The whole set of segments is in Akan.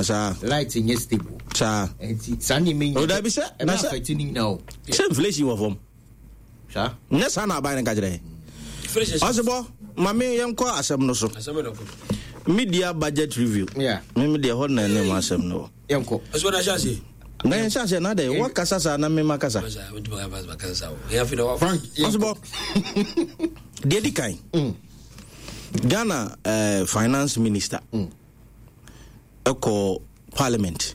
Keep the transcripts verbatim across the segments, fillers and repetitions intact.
Ah, saa. Light nyɛ stable. Saa. Nti saa nneɛma yi O, dabi sɛ- ɛbɛ na sɛ- affect ne nyinaa o. Sɛ inflation wɔ fam. Saa. Nyɛ saa na aban no ka kyerɛ. Ɔsebɔ, mame yɛnkɔ asɛm no so. Asɛm no kɔ. Mid-year budget review. Yeah. Meme deɛ, hɔ na ɛne mu asɛm no wɔ. Yɛnkɔ. Ɔsɛ na hyɛ ase. Na yɛnhyɛ aseɛ na dɛ wɔkasa saa na mema kasa. Masa wotumi ka fast kasa saa o. Yɛn afi na wa. Frank, yɛnkɔ. Ɔsebɔ, deɛ di kan, Ghana eh, finance minister ɛkɔ parliament,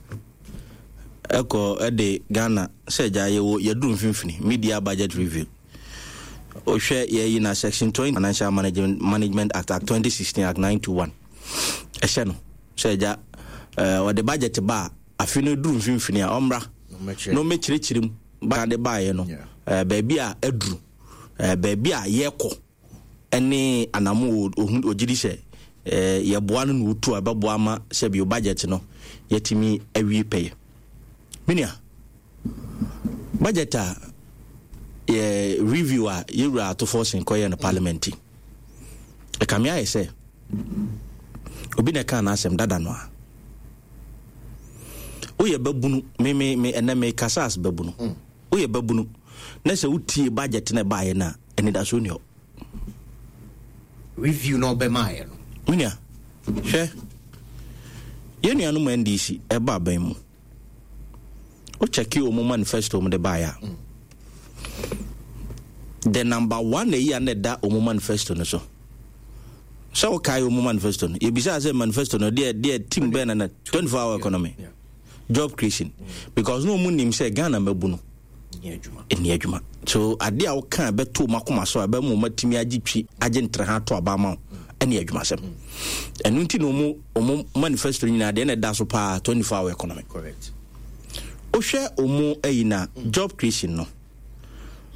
ɛkɔ ɛde Ghana sɛ gya yɛwɔ yɛduru mfimfini mid-year budget review. Wohwɛ yɛyi na section twenty Financial management, management Act, Act twenty sixteen, Act nine two one, ɛhyɛ no sɛ gya eh, ɔde budget ba a, afe no duru mfimfini a, ɔmmra ɔmmɛkyerɛ. Na ɔmmɛkyerɛkyerɛ mu ba de baeɛ no, Yeah. eh, baabi a aduru, eh, baabi a yɛkɔ, ɛne anamo ohun ogyidi sɛ eh, yɛboa no na otu a ɛbɛboa ama sɛbi budget no yɛtumi awie pɛyɛ. Menua, budget a yɛ review a yɛwura Ato Forson kɔyɛ no parliament yi, ɛkame ayɛ sɛ obi na ɛka n'asɛm dada no a woyɛ babunu. Me me me ɛnɛ me kasa as babunu. Woyɛ babunu na sɛ wotie budget na ɛbaeɛ no a, anidasoɔ ni hɔ. Review na ɔbɛmaayɛ no. Menua, hwɛ, yɛn nuanom N D C ɛba aban mu, wokyɛke ɔmu manifesto mu de baeɛ a, the number one ɛyi a na ɛda ɔmu manifesto no so, sɛ wokae ɔmu manifesto no, yɛbisaa sɛ manifesto no deɛ deɛ team bɛn na na twenty-four hour economy, Yeah. job creation, because na ɔmu nim sɛ Ghana mabu no nyɛ adwuma. Ɛni adwuma so adeɛ a woka a ɛbɛto ɔmo akoma so a ɛbɛma ɔmo atumi agye twi agye ntere ha ato aba ama wo ɛne adwumasɛm. Ɛno nti na ɔmo ɔmo manifesto nyinaa deɛ na ɛda so paa, twenty-four hour economy. Correct. Wohwɛ ɔmo ayi na job creation no,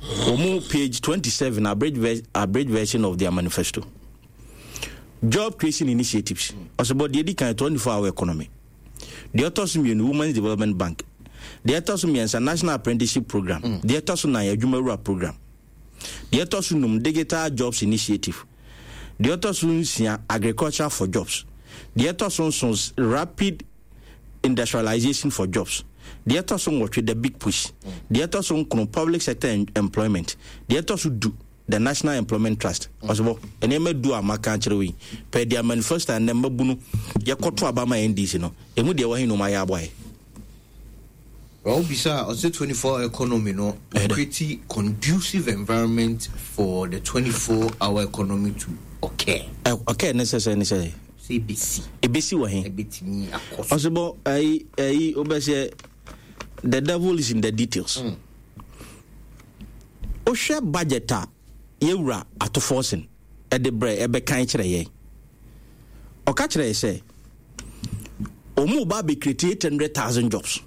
ɔmo page twenty-seven, abridged, ver abridged version of their manifesto, job creation initiatives. Ɔsɛ deɛ di kan, twenty-four hour economy. Deɛ ɛtɔ so mmienu, Women's Development Bank. Deɛ ɛtɔ so mmiɛnsa, National Apprenticeship Program. Deɛ ɛtɔ so nan, Adwumawura Program. Deɛ ɛtɔ so num, Digital Jobs Initiative. Deɛ ɛtɔ so nsia, Agriculture for Jobs. Deɛ ɛtɔ so nson, Rapid Industrialization for Jobs. Deɛ ɛtɔ so nwɔtwe, The Big Push. Deɛ ɛtɔ so nkron, Public Sector Employment. Deɛ ɛtɔ so du, the National Employment Trust. Ɔsebɔ, nneɛma du a maka akyerɛ wo yi pɛ deɛ manifesto a nnɛ mmabu no yɛkɔto aba ma N D C no, ɛmu deɛ wɔhe no ɔma yɛ aboaeɛ? Well, bisa ɔsɛ twenty-four economy no Ɛdɛ. create conducive environment for the twenty-four hour economy to occur. Ɛ- ɔkɛɛ ne sɛ sɛ ne sɛ Sɛ ebesi. Ɛbɛsi wɔ he? Ebetumi akɔ so. Ɔsebɔ, ɛyi ɛyi wobɛsɛ the devil is in the details. Wohwɛ budget a yɛwura Ato Forson ɛde brɛ ɛbɛkan kyerɛ yɛn, ɔka kyerɛ yɛ sɛ ɔmu ba bɛcreate eight hundred thousand jobs.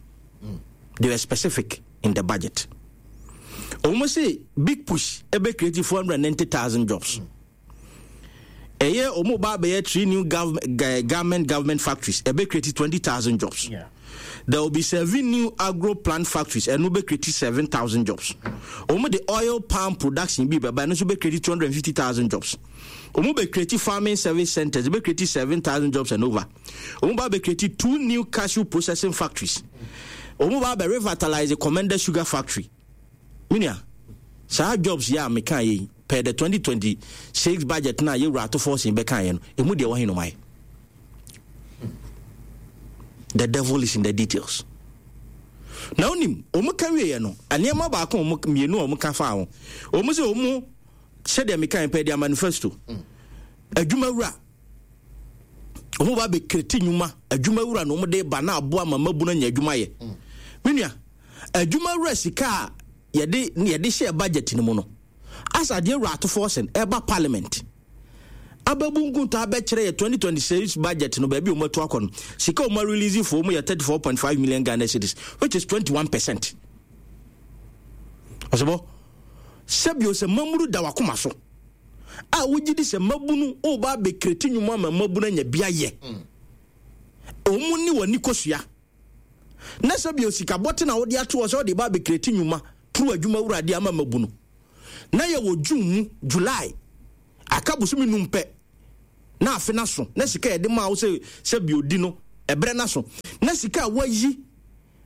They were specific in the budget. Ɔmu sɛ Big Push ɛbɛcreate four hundred ninety thousand jobs. Ɛyɛ ɔmu ba bɛyɛ three new government government government factories, ɛbɛcreate twenty thousand jobs. Yeah. There will be seven new agro plant factories, ɛno bɛ create seven thousand jobs. Wɔn de oil palm production bi bɛba, ɛno nso bɛ create two hundred and fifty thousand jobs. Wɔn bɛ create farming service centers, bɛ create seven thousand jobs and over. Wɔn ba bɛ create two new cashew processing factories. Wɔn ba bɛ revitalize the Komenda Sugar Factory. Minia, saa jobs yɛ a meka yɛ yi per the twenty twenty six budget na yɛwura Ato Forson bɛka yɛ no, emu deɛ wɔhe no ma yɛ? The devil is in the details. Na onim ɔmo ka wieɛ no, nneɛma baako a ɔmo mmienu a ɔmo ka fa ho, ɔmo sɛ ɔmo sɛdeɛ meka yɛn pɛ deɛ manifesto, adwumawura, ɔmo ba bɛcreate nnwuma. Adwumawura na ɔmo de ba na aboa ma mabunu anya adwuma yɛ. Me nua, adwumawura sika a yɛde yɛde hyɛ budget no mu no, asa adeɛ wura Ato Forson ɛba parliament ababu nkunta abɛkyerɛ yɛ twenty twenty-six budget no, baabi a wɔn atu akɔ no, sika a wɔn release fo mu yɛ thirty-four point five million Ghana cedis, which is twenty-one percent. Ɔsɛbɔ, sɛbio sɛ mamuru da wakoma so a wogye di sɛ mabunu woba abɛcreate nnwuma ma mabunu anya bi ayɛ, ɔmu ne w'ani kɔsua na sɛbio sika bɔte na wode ato hɔ sɛ wode ba abɛcreate nnwuma turu adwuma wurade ama mabunu, na yɛwɔ June mu, July, aka bosome num pɛ na afe no so, na sika yɛde maa wo sɛ sɛ biodi no ɛberɛ no so, Na sika a wayi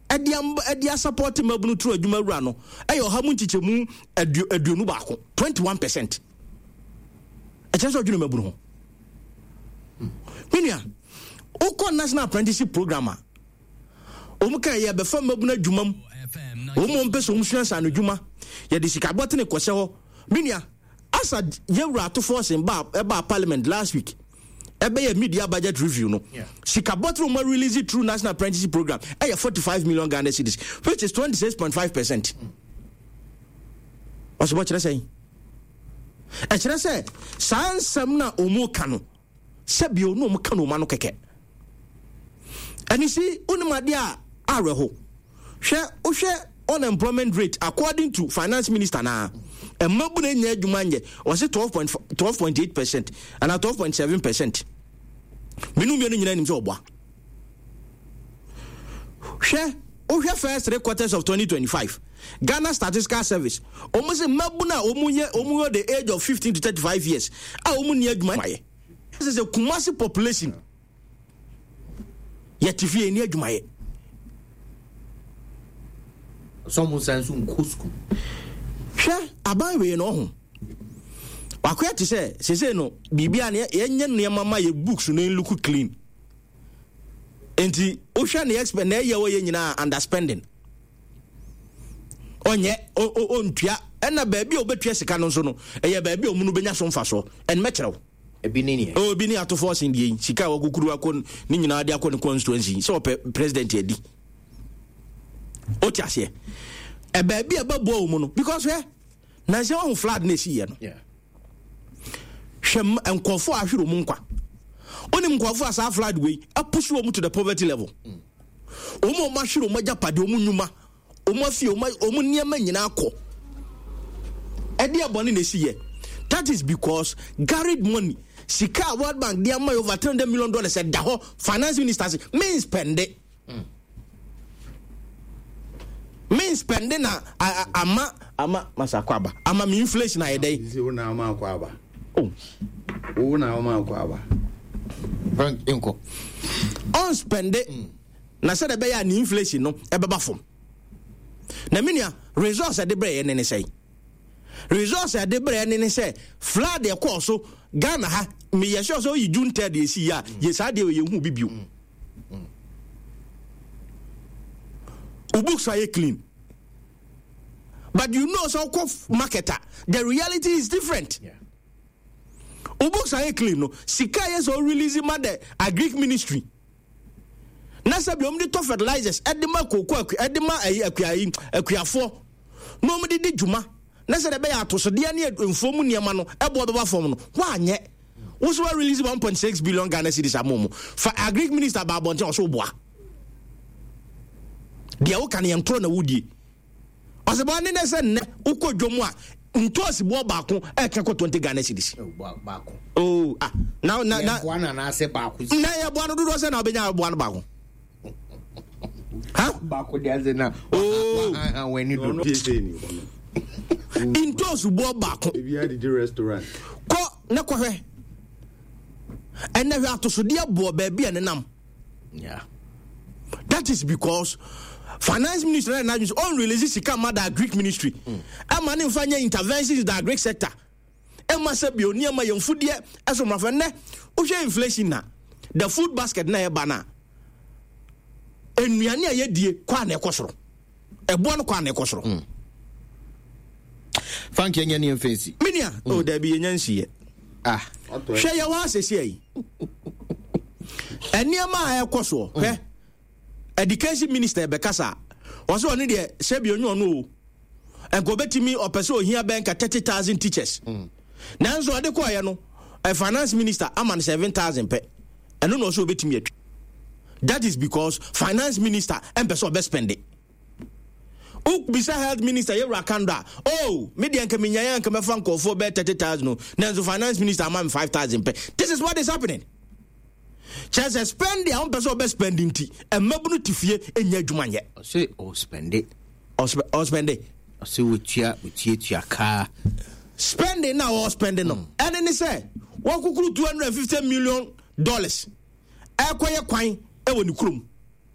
ɛde am ɛde asupport mmabunu turu adwuma wura no ɛyɛ ɔha mu nkyekyɛmu aduonu baako, twenty one percent. Ɛkyerɛ sɛ ɔdwene mmabunu ho. Menua, wokɔ National Apprenticeship Program a wɔn ka yɛ bɛfa mmabunu adwuma mu, wɔn mu mpɛ sɛ wɔn sua nsa no adwuma, yɛde sika bɔtene kɔhyɛ hɔ. Menua, asa yɛwura Ato Forson ba ɛba Parliament last week, ɛbɛyɛ mid-year budget review no, sika bɔtene wɔn release through National Apprenticeship Program ɛyɛ forty five million Ghana cedis, which is twenty six point five percent. Ɔsibɔ kyerɛ sɛn? Ɛkyerɛ sɛ saa nsɛm na wɔn ka no, sɛbio na wɔn ka no wɔn ano kɛkɛ. Ɛne si wonim adeɛ a awerɛho. Hwɛ, wohwɛ unemployment rate according to Finance Minister na mmabu na nya adwuma nyɛ, ɔse twelve point eight percent ana twelve point seven percent. Menu mmienu nyinaa nim sɛ ɔboa. Hwɛ, wohwɛ first three quarters of twenty twenty-five, Ghana Statistical Service, wɔn sɛ mmabu na wɔn yɛ wɔn yɛ the age of fifteen to thirty-five years a wɔn ni adwuma yɛ sɛ sɛ Kumasi population yɛte fie ni adwumayɛ. Sɛ ɔmo nsan nso nkɔ sukuu. Hwɛ, aban wei no, ɔho wakoya te sɛ sese no biribi a yɛnyɛ nneɛma ma yɛ books no look clean. Nti wohwɛ ne expert na ɛyɛ wɔyɛ nyinaa underspending, ɔnyɛ ɔntua. Ɛna baabi a ɔbɛtua sika no nso no, ɛyɛ baabi a ɔmu no bɛnya so mfasoɔ. Ɛn mɛkyerɛw. Ebi ne neɛ. Obi ne Ato Forson deɛ yi, sika a wakukuru akɔ ne nyinaa de akɔ ne constituency sɛ ɔpɛ president adi. Wote aseɛ? Ɛbaabi a ɛbɛboa wɔ mu no, because hwɛ, nansɛ wahu flood na ɛsiiɛ no, hwɛ nkɔfoɔ a ahwere mu nkwa. Wonim nkɔfoɔ a saa flood wei apush wɔ mu to the poverty level. Wɔn a wɔn ahwere wɔn agyapadeɛ, wɔn nnwuma, wɔn afie, wɔn wɔn nneɛma nyinaa kɔ. Ɛde ɛbɔne na ɛsi yɛ. That is because GARID money, sika a World Bank de ama yɛ over three hundred million dollars, ɛda hɔ. Finance Minister sɛ men spend it, men spend na ama ama masa akɔ aba ama mi inflation ayɛ dɛ. Sisi wo na ama akɔ aba. Oh. Wo na ama akɔ aba. Frank nkɔ. Ɔn spend na sɛ de bɛyɛ a ne inflation no ɛbɛba fam. Na me nua, resource ɛde brɛ yɛ ne ne sɛn? Resource ɛde brɛ ne ne sɛ flood ɛkɔɔ so Ghana ha, meyɛ sure sɛ oyi June third yɛsi yi a yɛ saa deɛ yɛhu bi bio. Wo books ayɛ clean, but you know sɛ wokɔ market a, the reality is different. Yeah. Wo books ayɛ clean no, sika yɛ sɛ o release ma the Agric Ministry na sɛ bi wɔn de tɔ fertilizers ɛde ma kooko aku ɛde ma ɛyi akua yi akuafoɔ na wɔn de di dwuma na sɛ de bɛyɛ atosodeɛ ne mfuo mu nneɛma no ɛboɔ bɛba fam no, wɔanyɛ. Woso wa release one point six billion Ghana cedis ama wɔn fa. Agric Minister ba abɔnten, ɔso boa deɛ woka no yɛn toro na wodie. Ɔsɛ bɔ ne ne sɛ nnɛ wokɔ dwom a, ntoosi boɔ baako ɛka kɔ twenty Ghana cedis. Baako. Oh, ah, na na na Yɛboa no anaasɛ baako. Na yɛboa no dodoɔ sɛ na wobɛnya aboa no baako ha. Baako de ase na. Oh. W'ani do. Tie ni hɔ no. Ntoosi boɔ baako. Ebi adidi restaurant. Kɔ ne kɔhwɛ ɛnɛ, hwɛ atosodeɛ boɔ baabi a nenam. Yeah. That is because Finance Minister na n'adwene sɛ ɔn release sika ma the Agric Ministry ɛma ne nfa nyɛ interventions in the agric sector, ɛma sɛ bio nneɛma yɛn mfudeɛ ɛso mmafɛ. Nnɛ wohwɛ inflation na the food basket na ɛba na nnuane a yɛdie kɔ a na ɛkɔ soro, ɛboɔ no kɔ a na ɛkɔ soro. Frank, yɛnyɛ ne yɛmfa nsi. Minia o, dabi, yɛnya nsiyɛ. Ah. Hwɛ, yɛwɔ asɛsi ayi nneɛma a ɛkɔ soɔ. Hwɛ, Education Minister bɛkasa a, ɔsɛ ɔno deɛ sɛbi onye ɔno o, nka obɛtumi ɔpɛ sɛ ohia bɛn ka thirty thousand teachers, nanso ɔde kɔɔyɛ no, ɛ Finance Minister ama no seven thousand pɛ. Ɛno na ɔsɛ obɛtumi atwi. That is because Finance Minister ɛmpɛ sɛ ɔbɛ spend it. Wobisa Health Minister yɛwura Kando a, oh, me deɛ nka menyaeɛ nka mɛfa nkɔɔfoɔ bɛɛ thirty thousand no, nanso Finance Minister ama me five thousand pɛ. This is what is happening. Kyerɛ sɛ spend a wompɛ sɛ ɔbɛ spend nti mmabunu te fie ɛnya adwuma nyɛ. Ɔsɛ ɔspend. Ɔspend. Ɔsɛ wɔtua wɔtuatua kaa. Spending na ɔspend no, ɛne ne sɛ wɔkukuru two hundred and fifty million dollars ɛkɔyɛ kwan ɛwɔ ne kurom.